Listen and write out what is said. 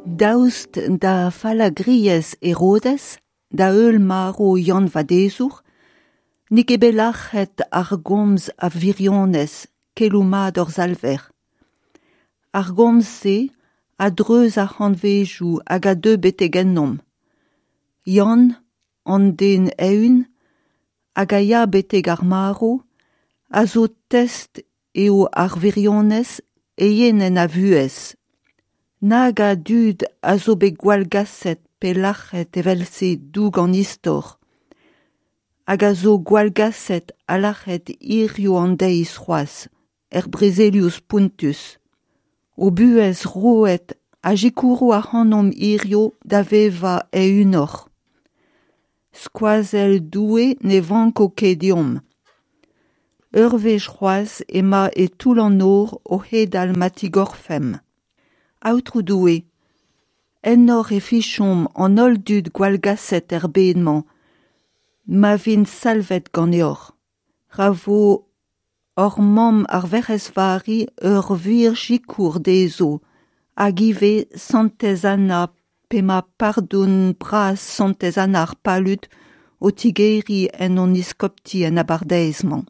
Daoust da fallagriezh Herodez, da heul marv Yann Vadezour, n'eo ket bet lac'het ar gomz a wirionez, keloù mat hor Salver. Ar gomz-se a dreuz ar c'hantvedoù hag a deu betek ennomp. Yann, an den eeun, hag a ya betek ar marv, a zo test eo ar wirionez eienenn a vuhez. Nag a dud a zo bet gwallgaset pe lac'het evel-se 'doug an istor, hag a zo gwallgaset ha lac'het hiziv an deiz c'hoazh, er brezelioù spontus. O buhez roet a sikouro ac'hanomp hiziv da vevañ eeunoc'h. Skoazell Doue ne vanko ket deomp. Ur wech c'hoazh emañ e toull an nor o c'hedal ma tigorfemp. Aotrou Doue, ennoc'h e fichomp an holl dud gwallgaset er bed-mañ, ma vint salvet ganeoc'h. Ra vo hor mamm ar Werc'hez Vari ur wir sikour dezho, hag ivez Santez Anna p'emañ pardon bras Santez Anna ar Palud o tigeriñ en hon eskopti en abardaez-mañ.